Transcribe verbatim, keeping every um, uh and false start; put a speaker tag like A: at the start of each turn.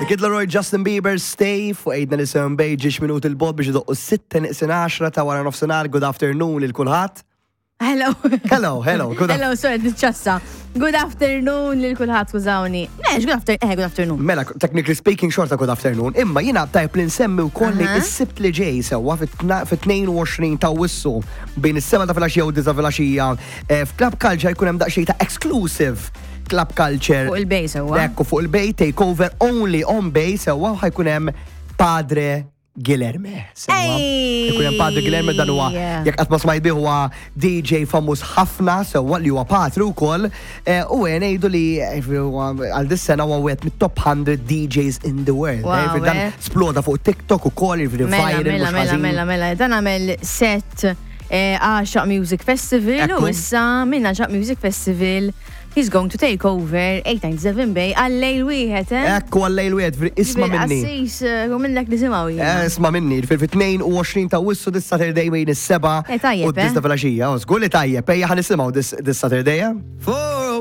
A: The Kid Laroi, Justin Bieber, "Stay" fuq eight ninety-seven Bay, ġiex minut il-bot biex idoqqu sitta neqsin għaxra ta' wara nofsinhar. Good afternoon lil kulħadd.
B: Hello.
A: Hello, hello, good.
B: Hello, sorry, nitċassa. Good afternoon lil kulħadd, skużawni. Nex, good afternoon, eh, good afternoon.
A: Mela, technically speaking, xorta good afternoon. Imma jina tajb li nsemmi wkoll li
B: Aha.
A: s-Sibt li ġej, sewwa, fit-tnejn u għoxrin ta' Awwissu bejn is-sebgħa ta' filgħaxija u disgħa filgħaxija eh, f'Club Culture jkun hemm daqsxejn ta' exclusive Club Culture.
B: Fuq il-Bay, sewwa.
A: Ekku, fuq il-Bay, takeover only on Bay, sewwa, ħa jkun hemm Padre Guilherme. Sewwa.
B: Ej!
A: Ikun hemm Padre Guilherme. Dan huwa, jekk qatt ma smajt bih, huwa D J famuż ħafna, sewwa, li huwa patru wkoll eh, u ngħidu li eh, huwa għal dis-sena huwa wieħed mit-top one hundred D Js in the world.
B: Wow,
A: eh, jiġifieri dan
B: eh.
A: sploda fuq TikTok ukoll, jiġifieri
B: Mela,
A: viral
B: mela,
A: mhux
B: mela,
A: ħażin.
B: Mela, mela. Dan għamel set eh, Għaxaq Music Festival u
A: Ekku.
B: issa minn Għaxaq Music Festival he's going to take over eight ninety-seven Bay għal-lejl wieħed, eh?
A: Ekku, għal-lejl wieħed, jiġifieri isma' minni.
B: Assis, u minnek nisimgħu
A: Eh, Isma' minni, fil-tnejn u għoxrin ta' Awwissu, this Saturday, bejn is-sebgħa
B: Eh, tajjeb,
A: u d-disgħa
B: eh?
A: filgħaxija. Oh, żgur li tajjeb, ejja ħa nisimgħu this this Saturday, eh?
C: Four